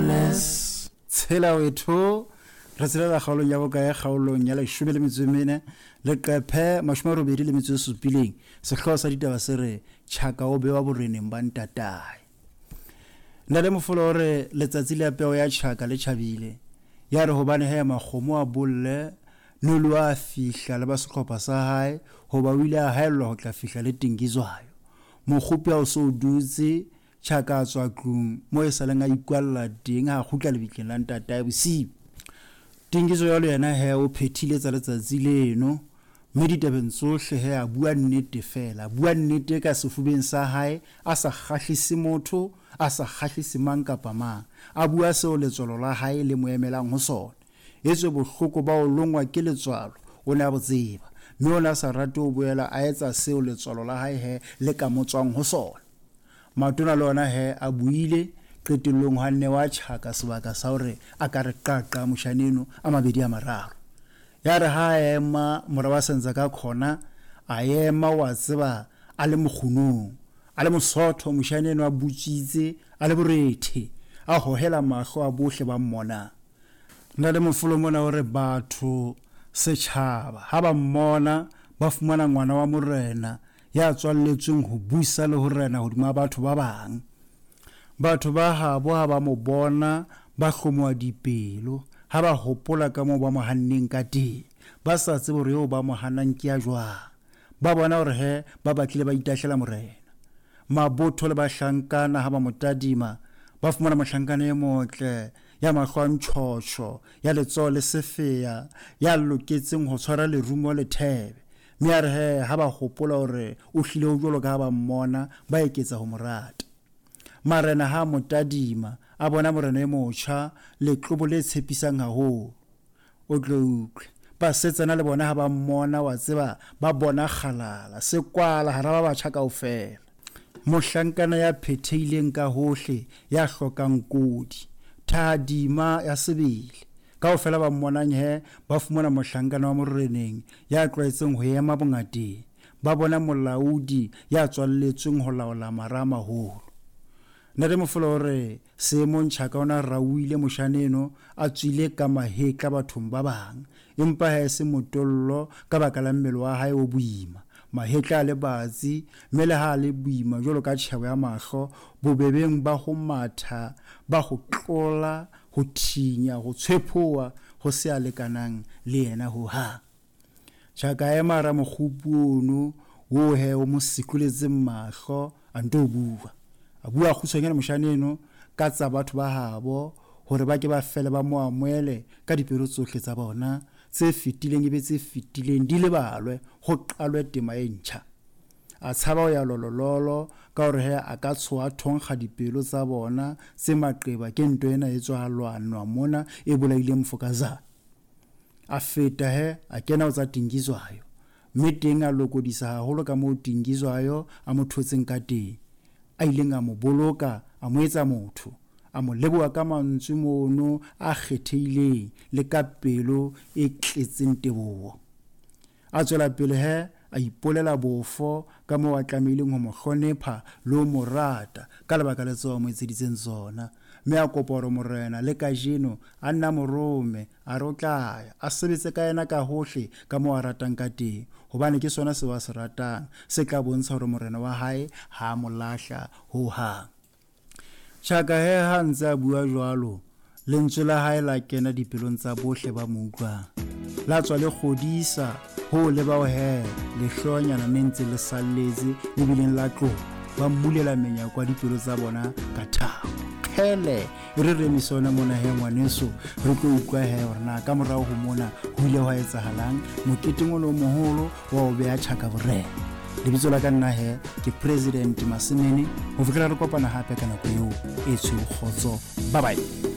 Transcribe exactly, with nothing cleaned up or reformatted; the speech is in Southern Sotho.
Wireless. Tshela wethu re tshelela kgaolong ya bokae kgaolong ya leshome le metso e mene leqephe mashome a robedi le metso e supileng. Sehlooho sa ditaba se re Tjhaka o bewa boreneng ba ntatae. Ntate Mofolo o re letsatsi la peo ya Tjhaka le tjhabile. Ya re hobane he makgomo a bolle Nolo a fihla le ba sehlopha sa hae hoba o ile a haellwa ho tla fihla le Tingizwayo. Mokgopi ha o so dutse Tjhaka a tswa tlung mo e saleng a ikwalla teng ha kgutla lebitleng la ntatae bosiu. Tingizwayo le yena he o phethile tsa letsatsi leno mme ditabeng tsohle he a bua nnete fela, a bua nnete ka sefubeng sa hae, a sa kgahlise motho, a sa kgahlise mang kapa mang, a bua seo letswalo la hae le mo emelang ho sona. Etswe bohloko ba ho longwa ke letswalo o ne a bo tseba, mme o ne a sa rate ho boela a etsa seo letswalo la hae he le ka mo tswang ho sona. Matona le ona he a buile qetellong ha nne wa Tjhaka sebaka sa hore a ka re qaqa moshaneno a mabedi a mararo. Ya re ha a ema mora wa Senzangakhona a ema wa tseba a le mokgunong, a le mosotho moshaneno a butswitse a le borethe, a hohela mahlo a bohle ba mmonang. Ntate Mofolo mona o re batho setjhaba ha ba mmona ba fumana ngwana wa morena ya tswalletsweng ho busa le ho rena hodima batho ba bang. Batho ba habo ha ba mo bona ba hlomoha dipelo ha ba hopola ka moo ba mo hanneng ka teng, ba sa tsebe hore eo ba mo hanang ke ya jwang. Ba bona hore he ba batlile ba itahlela morena. Mabotho le bahlankana ha ba mo tadima ba fumana mohlankana e motle ya mahlo a ntjhotjho, ya letsoho le sefeya, ya loketseng ho tshwara lerumo le thebe. Mme a re he ha ba hopola hore o hlile ho jwalo ka ha ba mmona, ba eketsa ho mo rata. Marena ha mo tadima a bona morena e motjha, letlobo le tshepisang haholo. O tlo utlwe basetsana le bona ha ba mmona wa tseba ba bona kgalala sekwala hara ba batjha kaofela. Mohlankana ya phethehileng ka hohle, ya hlokang kodi, thahadima ya sebele. Kaofela ba mmonang he ba fumana mohlankana wa moreneng ya tlwaetseng ho ema bongateng. Ba bona molaodi ya tswalletsweng ho laola mara a maholo. Ntate Mofolo o re seemong Tjhaka o na rauile moshaneno a tswile ka mahetla bathong ba bang, empa ha e se motollo ka baka la mmele wa hae o boima. Mahetla a le batsi, mme le ha a le boima jwalo ka tjhebo ya mahlo, bobebeng ba ho matha, ba ho tlola, ho thinya, ho tshwephoha, ho se a lekanang le yena ho hang. Tjhaka a ema hara mokgupi ono oo he o mo sikoletseng mahlo, a nto bua. A bua kgutshwanyane moshaneno ka tsa batho ba habo hore ba ke ba fele ba mo amohele ka dipelo tsohle tsa bona, tse fetileng ebe tse fetileng di lebalwe, ho qalwe tema e ntjha. A tshaba ho ya lolololo ka hore he a ka tshoha thonkga dipelo tsa bona tse maqeba ke ntho ena e tswa lwanwa mona e bolaileng Mfokazana. A feta he a kena ho tsa Tingizwayo, mme teng a lokodisa haholo ka moo Tingizwayo a mo thotseng ka teng, a ileng a mo boloka, a mo etsa motho, a mo leboha ka mantswe mono a kgethehileng le ka pelo e tletseng teboho. A tswela pele he a ipolela bofo ka moo a tlamehileng ho mo hlonepha le ho mo rata ka lebaka le tseo a mo etseditseng tsona, mme a kopa hore morena le kajeno a nna mo rome, a re o tla ya a sebetse ka yena ka hohle ka moo a ratang ka teng, hobane ke sona seo a se ratang se tla bontsha hore morena wa hae ha a mo lahla ho hang. Tjhaka he ha ntse a bua jwalo, lentswe la hae la kena dipelong tsa bohle ba mo utlwang, la tswa le kgodisa ho le bao he lehlonyana ne ntse le salletse le bileng la tloha, ba mmulela menyako ya dipelo tsa bona ka thabo. Kgele e re re emise hona mona he ngwaneso, re tlo utlwa he hore na ka morao ho mona ho ile hwa etsahalang moketeng ono o moholo wa ho beha Tjhaka borena. Lebitso la ka nna he ke President Masemene. Ho fihlela re kopana hape ka nako eo e tshweu kgotso. Bye bye.